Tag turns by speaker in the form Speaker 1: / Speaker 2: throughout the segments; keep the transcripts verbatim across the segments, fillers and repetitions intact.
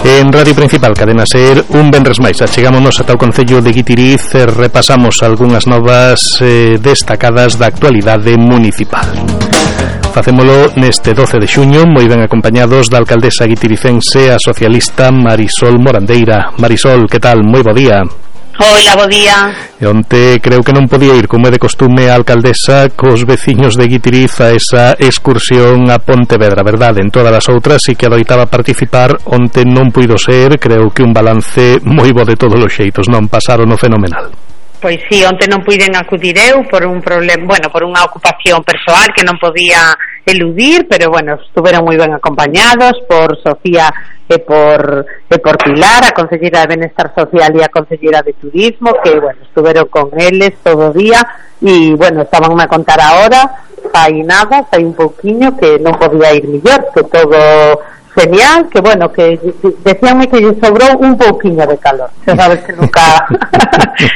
Speaker 1: En Radio Principal, Cadena Ser, un venres máis. Achegámonos ata o Concello de Guitiriz e repasamos algunhas novas eh, destacadas da actualidade municipal. Facémolo neste doce de xuño, moi ben acompañados da alcaldesa guitiricense, a socialista Marisol Morandeira. Marisol, que tal? Moi bo día.
Speaker 2: Hola, bo día.
Speaker 1: E onte creo que non podía ir, como é de costume, a alcaldesa cos veciños de Guitiriz a esa excursión a Pontevedra, verdade? En todas as outras sí que adoitaba participar, onte non puido ser, creo que un balance moi bo de todos os xeitos, non? Pasaron o fenomenal.
Speaker 2: Pois sí, onte non puiden acudir eu por un problema, bueno, por unha ocupación persoal que non podía eludir, pero bueno, estuveron moi ben acompañados por Sofía e por e por Pilar, a Conselleira de Benestar Social e a Conselleira de Turismo, que bueno, estuveron con eles todo o día e bueno, estaban a contar ahora, fai nada, fai un pouquiño que non podía ir mellor, que todo genial, que bueno, que decíanme que lle sobrou un pouquiño de calor. Xa sabes que nunca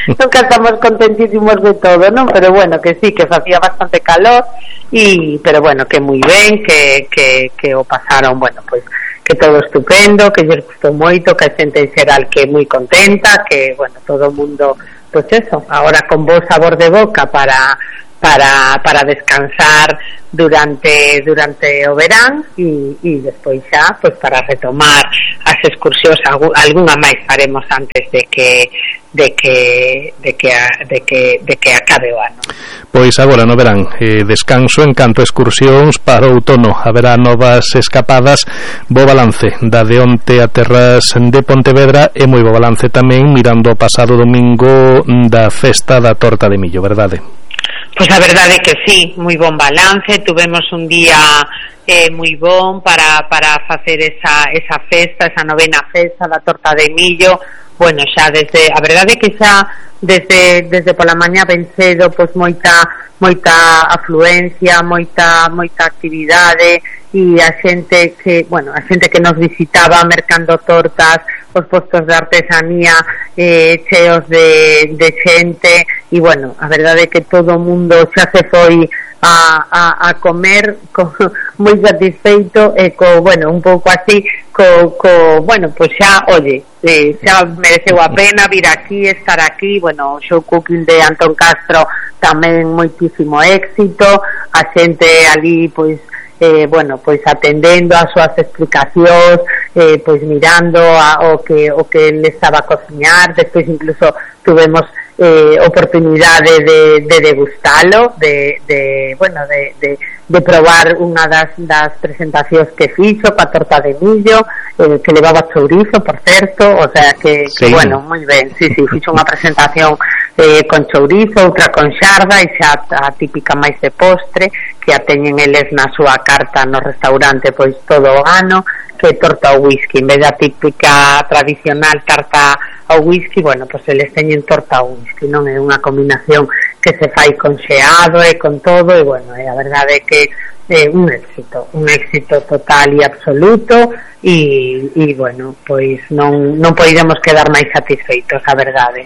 Speaker 2: nunca estamos contentísimos de todo, non? Pero bueno, que sí, que facía bastante calor y pero bueno, que moi ben, que que que o pasaron, bueno, pois pues, que todo estupendo, que lles gustou moito, que a xente en xeral que moi contenta, que bueno, todo o mundo, pois pues eso, agora con bo sabor de boca para para para descansar durante durante o verán e, e despois xa pois para retomar as excursións, algunha máis faremos antes de que de que de que de que de que acabe o ano.
Speaker 1: Pois agora no verán, eh, descanso en canto a excursións para o outono, haberá novas escapadas. Bo balance da de onte a terras de Pontevedra e moi bo balance tamén mirando o pasado domingo da festa da torta de millo, verdade?
Speaker 2: Pois a verdade é que sí, moi bon balance, tuvemos un día eh, moi bon para, para facer esa, esa festa, esa novena festa da torta de millo. Bueno, xa desde, a verdade é que xa desde, desde pola mañá ben cedo, pois moita, moita afluencia, moita, moita actividade e a xente que, bueno, a xente que nos visitaba mercando tortas, os postos de artesanía eh, cheos de, de xente e bueno, a verdade é que todo o mundo xa se foi a, a, a comer co, moi satisfeito e co, bueno, un pouco así co, co bueno, pois xa, oye eh, xa mereceu a pena vir aquí, estar aquí, bueno, o show cooking de Antón Castro tamén moitísimo éxito, a xente ali, pois Eh, bueno, pois atendendo as súas explicacións, eh, pois mirando a, o que o que le estaba a cociñar, despois incluso tuvemos eh, oportunidade de, de degustalo, de, de bueno, de, de, de probar unha das, das presentacións que fixo coa torta de millo, eh, que levaba chourizo, por certo, o sea que, sí. que bueno, moi ben, sí, sí, fixo unha presentación eh, con chourizo, outra con xarda e xa a típica máis de postre que a teñen eles na súa carta no restaurante pois todo o ano, que é torta ao whisky, en vez da típica tradicional tarta ao whisky, bueno, pois eles teñen torta ao whisky, non é unha combinación que se fai con xeado e con todo e bueno, e a verdade é que é un éxito, un éxito total e absoluto e, e bueno, pois non, non poidemos quedar máis satisfeitos, a verdade.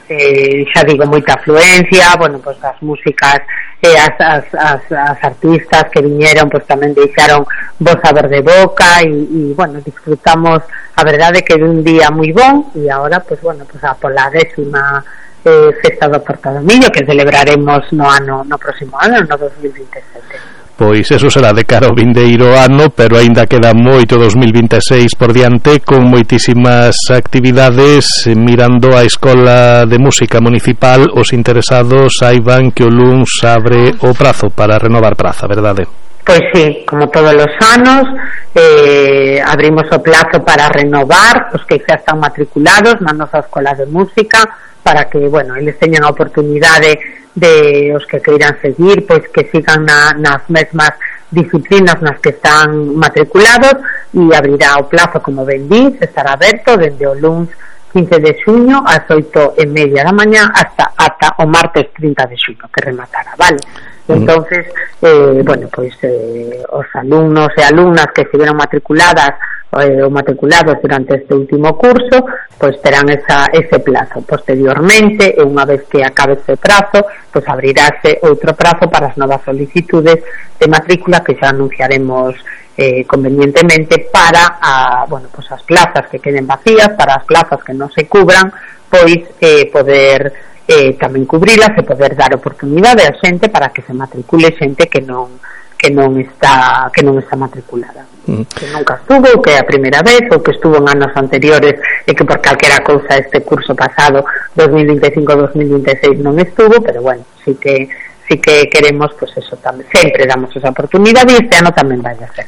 Speaker 2: Eh, xa digo, moita afluencia, bueno, pois as músicas e as, as, as, as artistas que viñeron pois tamén deixaron bo sabor de boca e, e bueno, disfrutamos a verdade que dun día moi bon e agora pois bueno, pois a pola décima eh, festa do Torta do Millo que celebraremos no ano no próximo ano, no dos mil vinte e sete.
Speaker 1: Pois eso será de cara ao vindeiro ano, pero aínda queda moito dos mil vinte e seis por diante con moitísimas actividades. Mirando a Escola de Música Municipal, os interesados saiban que o luns abre o prazo para renovar praza, verdade?
Speaker 2: Pois sí, como todos os anos eh, abrimos o plazo para renovar os que xa están matriculados na nosa Escola de Música para que, bueno, eles teñan a oportunidade de os que queiran seguir, pois que sigan na, nas mesmas disciplinas nas que están matriculados e abrirá o plazo, como ben dís, estará aberto dende o luns quince de xuño ás oito e media da mañá hasta, hasta o martes trinta de xuño que rematará, vale? Entonces, eh, bueno, pois eh, os alumnos e alumnas que estiveron matriculadas eh, o matriculados durante este último curso, pois terán esa, ese plazo. Posteriormente, e unha vez que acabe ese prazo, pois abrirase outro prazo para as novas solicitudes de matrícula que xa anunciaremos eh, convenientemente para a, bueno, pois as plazas que queden vacías, para as plazas que non se cubran, pois eh, poder eh, tamén cubrilas e poder dar oportunidade a xente para que se matricule xente que non que non está que non está matriculada, mm. que nunca estuvo, ou que é a primeira vez, ou que estuvo en anos anteriores e que por calquera cousa este curso pasado dos mil vinte e cinco dos mil vinte e seis non estuvo, pero bueno, sí que sí que queremos, pois pues eso tamén, sempre damos esa oportunidade e este ano tamén vai a ser.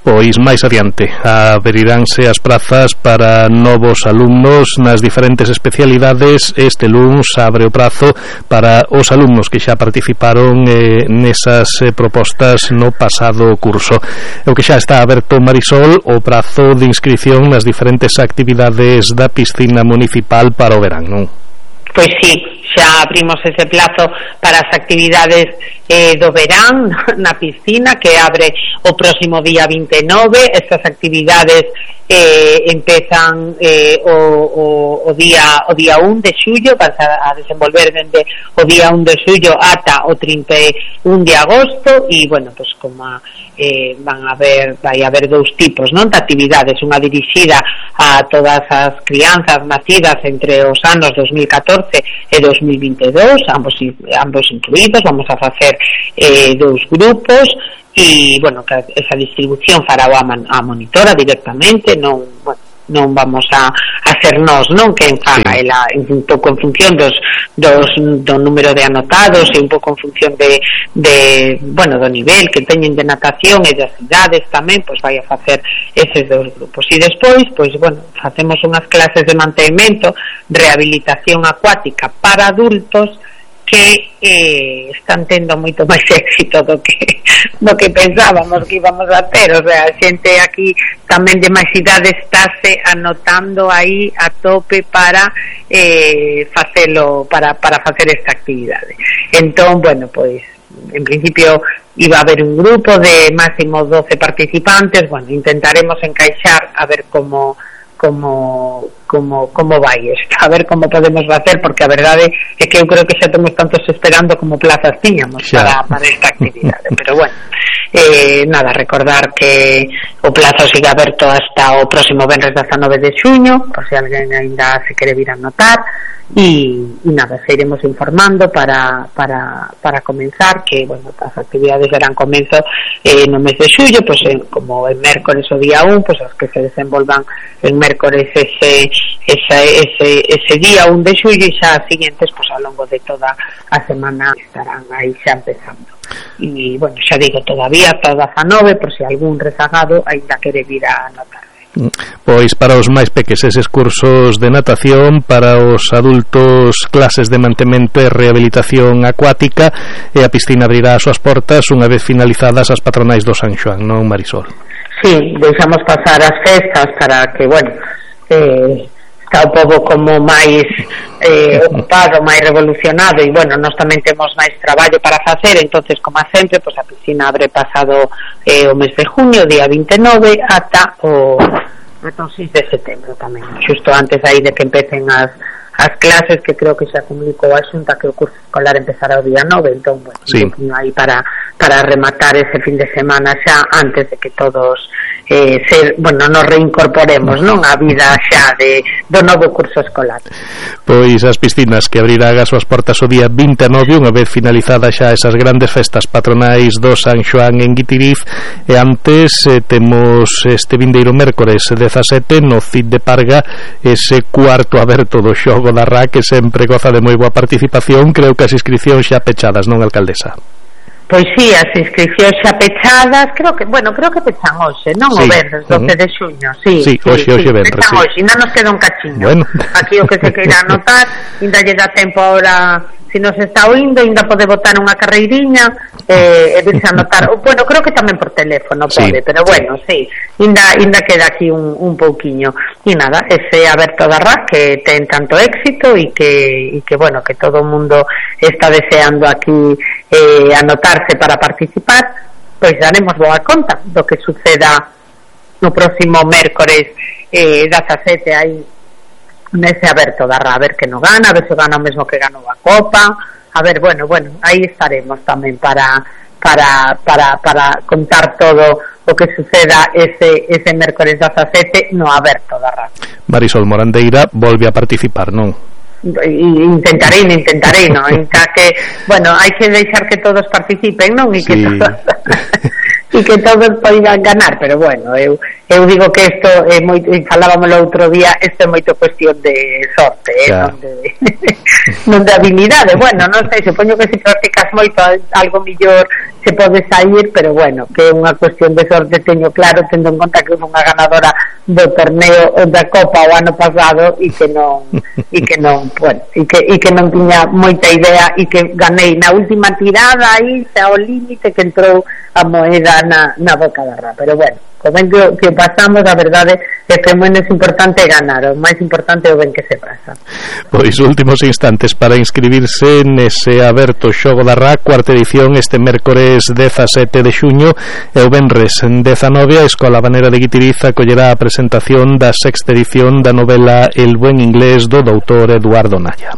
Speaker 1: Pois máis adiante abriránse as prazas para novos alumnos nas diferentes especialidades. Este luns abre o prazo para os alumnos que xa participaron eh, nesas eh, propostas no pasado curso. O que xa está aberto, Marisol, o prazo de inscripción nas diferentes actividades da piscina municipal para o verán, non?
Speaker 2: Pois sí, xa abrimos ese plazo para as actividades eh, do verán na piscina, que abre o próximo día vinte e nove. Estas actividades eh, empezan eh, o, o, o día o día un de xullo, vas a, a desenvolver dende o día un de xullo ata o trinta e un de agosto, e bueno, pues como eh, van a haber vai haber dous tipos, non, de actividades, unha dirixida a todas as crianzas nacidas entre os anos dos mil catorce e dos mil vinte e dous, ambos ambos incluídos. Vamos a facer eh, dous grupos e, bueno, que esa distribución fará a, man, a monitora directamente, non, bueno, non vamos a, a ser nós, non, que faga sí. Ela un pouco en función dos, dos do número de anotados e un pouco en función de, de bueno, do nivel que teñen de natación e das idades tamén, pois vai a facer eses dous grupos. E despois, pois, bueno, facemos unhas clases de mantemento, rehabilitación acuática para adultos, que eh, están tendo moito máis éxito do que do que pensábamos que íbamos a ter. O sea, a xente aquí tamén de máis idade estáse anotando aí a tope para eh, facelo, para, para facer esta actividade. Entón, bueno, pois en principio iba a haber un grupo de máximo doce participantes. Bueno, intentaremos encaixar a ver como como como como vai isto, a ver como podemos facer, porque a verdade é que eu creo que xa temos tantos esperando como plazas tiñamos para, para esta actividade, pero bueno, eh, nada, recordar que o plazo sigue aberto hasta o próximo venres dezanove de xuño, por se alguén ainda se quere vir a anotar, e, e nada, se iremos informando para, para, para comenzar, que bueno, as actividades serán comenzo eh, no mes de xullo, pues, en, como en mércores o día un, pues as que se desenvolvan en mércores ese Ese, ese, ese día un de xullo, e xa as siguientes pues, ao longo de toda a semana estarán aí xa empezando. E, bueno, xa digo, todavía hasta dezanove, por se algún rezagado ainda quere vir a anotar.
Speaker 1: Pois para os máis peques eses cursos de natación, para os adultos clases de mantemento e rehabilitación acuática, e a piscina abrirá as súas portas unha vez finalizadas as patronais do San Xoán, non, Marisol?
Speaker 2: Sí, deixamos pasar as festas para que, bueno, eh, está o pobo como máis eh, ocupado, máis revolucionado, e bueno, nós tamén temos máis traballo para facer. Entonces, como sempre, pues, a piscina abre pasado eh, o mes de junio, día vinte e nove, ata o, ata o seis de setembro tamén, xusto antes aí de que empecen as as clases, que creo que xa comunicou a Xunta que o curso escolar empezará o día nove. Entón, bueno, sí. Un poquinho aí para, para rematar ese fin de semana xa antes de que todos eh, ser, bueno, nos reincorporemos, non, a vida xa de, do novo curso escolar.
Speaker 1: Pois as piscinas que abrirán as súas portas o día vinte e nove, unha vez finalizadas xa esas grandes festas patronais do San Xoán en Guitiriz, e antes eh, temos este vindeiro mércores dezasete no C I D de Parga ese cuarto aberto do xogo da R A, que sempre goza de moi boa participación. Creo que as inscripcións xa pechadas, non, alcaldesa?
Speaker 2: Pois sí, as inscripcións xa pechadas, creo que, bueno, creo que pechan hoxe, non? Sí. O venres, doce de xuño, sí.
Speaker 1: Sí, hoxe, sí, hoxe, sí, venres,
Speaker 2: pechan
Speaker 1: sí.
Speaker 2: Hoxe, ainda nos queda un cachiño.
Speaker 1: Bueno.
Speaker 2: Aquí o que se queira anotar, ainda lle dá tempo ahora, se nos está oindo, ainda pode botar unha carreiriña eh, e virse a anotar. Bueno, creo que tamén por teléfono pode, sí. Pero bueno, sí, ainda, ainda queda aquí un, un pouquiño. E nada, ese aberto da R A que ten tanto éxito e que, e que, bueno, que todo o mundo está deseando aquí eh, anotarse para participar, pois daremos boa conta do que suceda no próximo mércores eh, dezasete aí nese aberto da Rá, a ver que non gana, a ver se gana o mesmo que ganou a Copa, a ver, bueno, bueno, aí estaremos tamén para para para para contar todo o que suceda ese ese mércores dezasete no aberto da Rá.
Speaker 1: Marisol Morandeira volve a participar, non?
Speaker 2: Intentarei, intentarei, non? En que, bueno, hai que deixar que todos participen, non? E que sí. todos e que todos poidan ganar, pero bueno, eu eu digo que isto é moito, falábamos o outro día, isto é moito cuestión de sorte, eh, non de non de habilidade. Bueno, non sei, supoño que se practicas moito algo millor se pode sair, pero bueno, que é unha cuestión de sorte, teño claro, tendo en conta que foi unha ganadora do torneo da Copa o ano pasado e que non e que non, bueno, e que e que non tiña moita idea e que ganei na última tirada aí xa ao límite que entrou a moeda na, na boca da Rá, pero bueno, o ben que, que pasamos, a verdade é que o menos importante é ganar, o máis importante é o ben que se pasa.
Speaker 1: Pois últimos instantes para inscribirse nese aberto xogo da Rá, cuarta edición, este mércores dezasete de xuño, e o venres dezanove a Escola Habanera de Guitiriz acollerá a presentación da sexta edición da novela El buen inglés do doutor Eduardo Naya.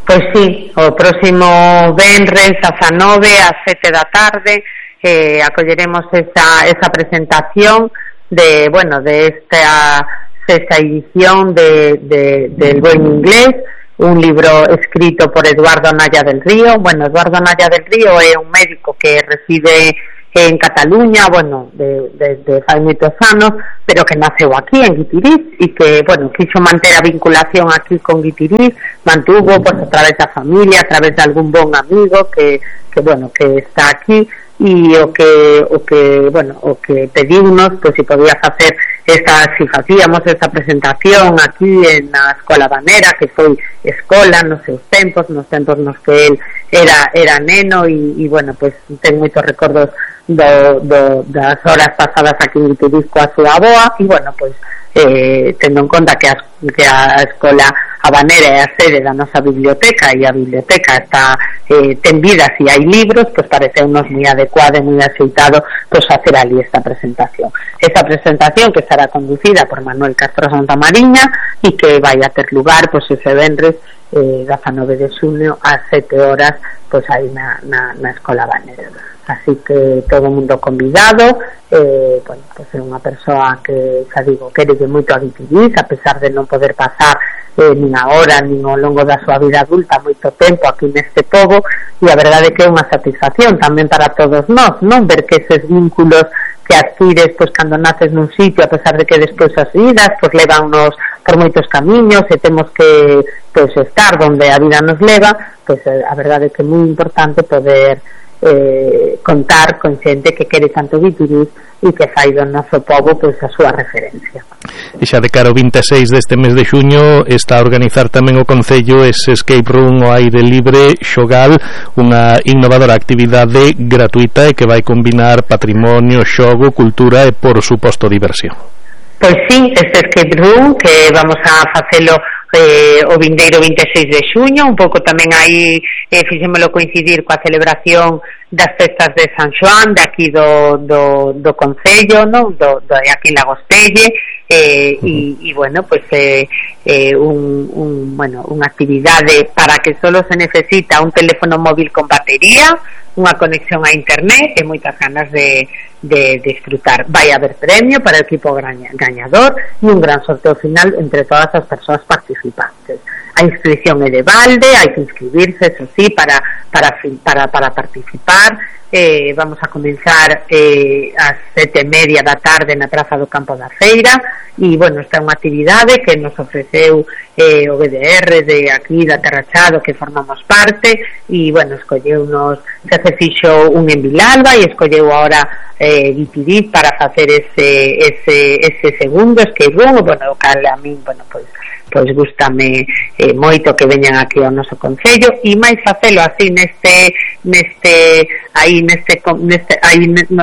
Speaker 2: Pois sí, o próximo venres dezanove ás sete da tarde eh, acolleremos esa, esa presentación de, bueno, de esta sexta edición de, de, del buen inglés, un libro escrito por Eduardo Naya del Río. Bueno, Eduardo Naya del Río é un médico que reside en Cataluña, bueno, desde de, de fai moitos anos, pero que naceu aquí en Guitiriz e que, bueno, quiso manter a vinculación aquí con Guitiriz, mantuvo pues a través da familia, a través de algún bon amigo que, que bueno, que está aquí, e o que o que, bueno, o que pedimos, pois se podía facer esta, si facíamos esta presentación aquí en a Escola Habanera, que foi escola nos seus tempos, nos tempos nos que el era era neno e, e bueno, pois ten moitos recordos do, do, das horas pasadas aquí en Guitiriz coa súa avoa e bueno, pois eh, tendo en conta que a, que a Escola Habanera é a sede da nosa biblioteca e a biblioteca está eh, ten vidas e hai libros, pois pareceunos moi adecuado e moi axeitado pois facer ali esta presentación. Esta presentación que estará conducida por Manuel Castro Santamariña e que vai a ter lugar pois ese venres eh, dezanove de xuño ás sete horas pois aí na, na, na Escola Habanera. Así que todo o mundo convidado, eh, bueno, pues é unha persoa que, xa digo, quere que moito a Guitiriz, a pesar de non poder pasar eh, nin agora, nin ao longo da súa vida adulta moito tempo aquí neste pobo, e a verdade é que é unha satisfacción tamén para todos nós, non ver que eses vínculos que adquires pois cando naces nun sitio, a pesar de que despois as vidas pois levannos por moitos camiños e temos que pois estar onde a vida nos leva, pois a verdade é que é moi importante poder Eh, contar con xente que quere tanto Guitiriz e que fai do noso pobo pois a súa referencia.
Speaker 1: E xa de cara ao vinte e seis deste mes de xuño está a organizar tamén o Concello ese escape room ao aire libre Xogal, unha innovadora actividade gratuita e que vai combinar patrimonio, xogo, cultura e por suposto diversión.
Speaker 2: Pois sí, este escape room que vamos a facelo eh, o vindeiro vinte e seis de xuño, un pouco tamén aí eh, fixémolo coincidir coa celebración das festas de San Xoán de aquí do, do, do Concello, non? Do, do, aquí en Lagostelle eh, e, e bueno, pues eh, eh, un, un, bueno, unha actividade para que solo se necesita un teléfono móvil con batería, unha conexión a internet e moitas ganas de, de disfrutar. Vai haber premio para o equipo gañador e un gran sorteo final entre todas as persoas participantes. A inscripción é de balde, hai que inscribirse, eso sí, para, para, para, para participar. Eh, vamos a comenzar eh, ás sete e media da tarde na Praza do Campo da Feira e, bueno, esta é unha actividade que nos ofreceu eh, o B D R de aquí da Terrachado que formamos parte e, bueno, escolleunos, xa se fixo un en Vilalba e escolleu ahora eh, Guitiriz para facer ese, ese, ese segundo escape room, bueno, o cal a min, bueno, pois pois gústame eh, moito que veñan aquí ao noso concello e máis facelo así neste neste aí neste, neste aí,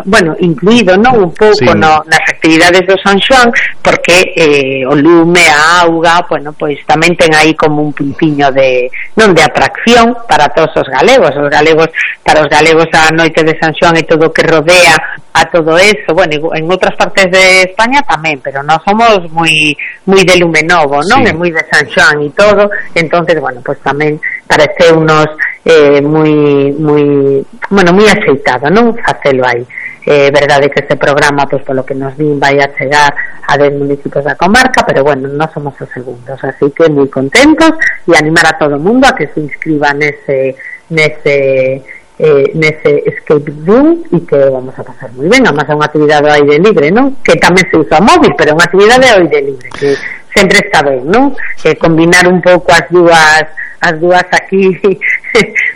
Speaker 2: bueno, incluído, non, un pouco sí. no, nas actividades do San Xoán, porque eh, o lume, a auga, bueno, pois tamén ten aí como un puntiño de, non, de atracción para todos os galegos, os galegos, para os galegos a noite de San Xoán e todo o que rodea a todo eso, bueno, en outras partes de España tamén, pero nós somos moi moi de lume novo, non? Sí. E moi de San Xoán e todo, entonces, bueno, pues tamén parece unos eh, moi moi, bueno, moi aceitado, non? Facelo aí. É eh, verdade que este programa, pois polo que nos din, vai a chegar a dez municipios da comarca, pero bueno, non somos os segundos, así que moi contentos e animar a todo o mundo a que se inscriba nese nese eh, nese escape room e que vamos a pasar moi ben. Además é unha actividade ao aire libre, non? Que tamén se usa móvil, pero é unha actividade ao aire libre que sempre está ben, non? Eh, combinar un pouco as dúas as dúas aquí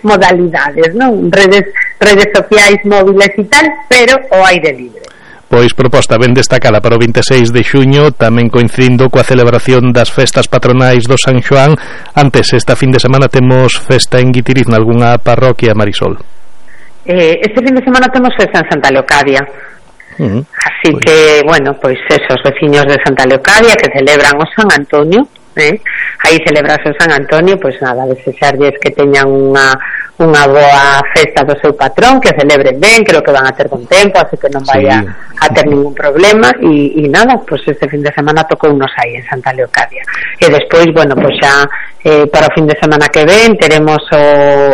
Speaker 2: modalidades, non? Redes redes sociais, móviles e tal, pero ao aire libre.
Speaker 1: Pois proposta ben destacada para o vinte e seis de xuño, tamén coincidindo coa celebración das festas patronais do San Xoán. Antes, esta fin de semana temos festa en Guitiriz, nalgunha parroquia, Marisol?
Speaker 2: Eh, este fin de semana temos festa en Santa Leocadia. Uh-huh. Así pues. que, bueno, pois esos veciños de Santa Leocadia que celebran o San Antonio, eh? aí celebrase o San Antonio, pois nada, desexarlles que teñan unha unha boa festa do seu patrón, que celebren ben, creo que van a ter bon tempo, así que non vai sí. a, a ter ningún problema e, e nada, pois este fin de semana tocou unos aí en Santa Leocadia e despois, bueno, pois xa eh, para o fin de semana que ven teremos o,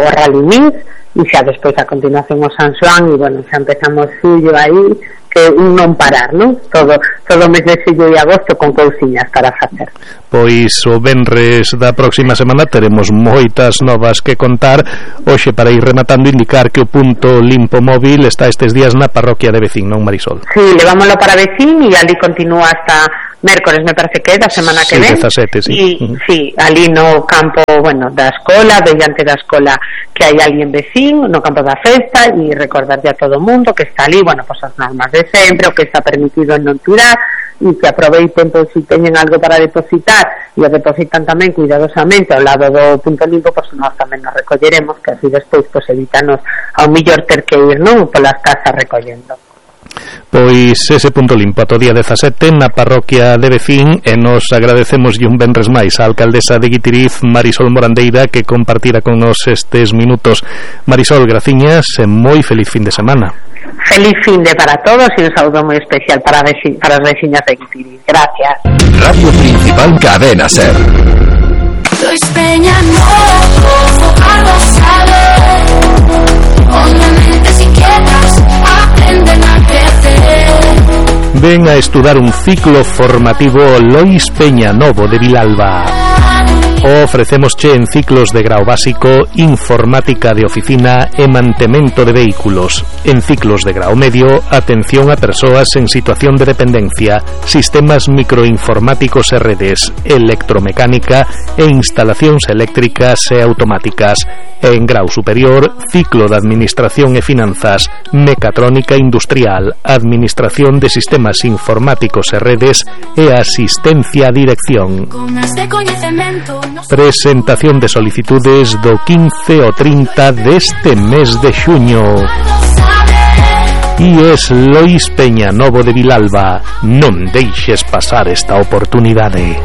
Speaker 2: o Rally Mix e xa despois a continuación o San Xoán e bueno, xa empezamos xullo aí que un non parar, non? Todo, todo o mes de xullo e agosto con cousiñas para facer.
Speaker 1: Pois o venres da próxima semana teremos moitas novas que contar. Hoxe, para ir rematando, indicar que o punto limpo móvil está estes días na parroquia de Vecín, non, Marisol?
Speaker 2: Sí, levámoslo para Vecín e ali continúa hasta mércores, me parece que é, da semana que
Speaker 1: sí,
Speaker 2: ven.
Speaker 1: dezasete, sí.
Speaker 2: E, uh-huh. sí, ali no campo, bueno, da escola, diante da escola que hai alguén Vecín, no campo da festa, e recordarlle a todo o mundo que está ali, bueno, pues as normas de sempre, o que está permitido en non tirar, e que aproveiten, pois, se teñen algo para depositar, e o depositan tamén cuidadosamente ao lado do punto limpo, pois nós tamén nos recolleremos, que así despois, pois, evítanos ao millor ter que ir, non, polas casas recollendo.
Speaker 1: Pois ese punto limpo ata o día dezasete na parroquia de Vecín, e nos agradecemos e un venres máis a alcaldesa de Guitiriz, Marisol Morandeira, que compartira con nos estes minutos. Marisol, graciñas e moi feliz fin de semana.
Speaker 2: Feliz fin de para todos e un saúdo moi especial para, veci- para as veciñas de Guitiriz. Gracias.
Speaker 3: Radio Principal Cadena Ser.
Speaker 4: Luis Peña Novo, algo sabe. Obviamente si quieres aprenden a crecer.
Speaker 1: Ven a estudar un ciclo formativo Lois Peña Novo de Vilalba. Ofrecémosche en ciclos de grao básico informática de oficina e mantemento de vehículos. En ciclos de grao medio, atención a persoas en situación de dependencia, sistemas microinformáticos e redes, electromecánica e instalacións eléctricas e automáticas. E en grau superior, ciclo de administración e finanzas, mecatrónica industrial, administración de sistemas informáticos e redes e asistencia a dirección. Presentación de solicitudes do quince ao trinta deste mes de xuño. E es Lois Peña Novo de Vilalba. Non deixes pasar esta oportunidade.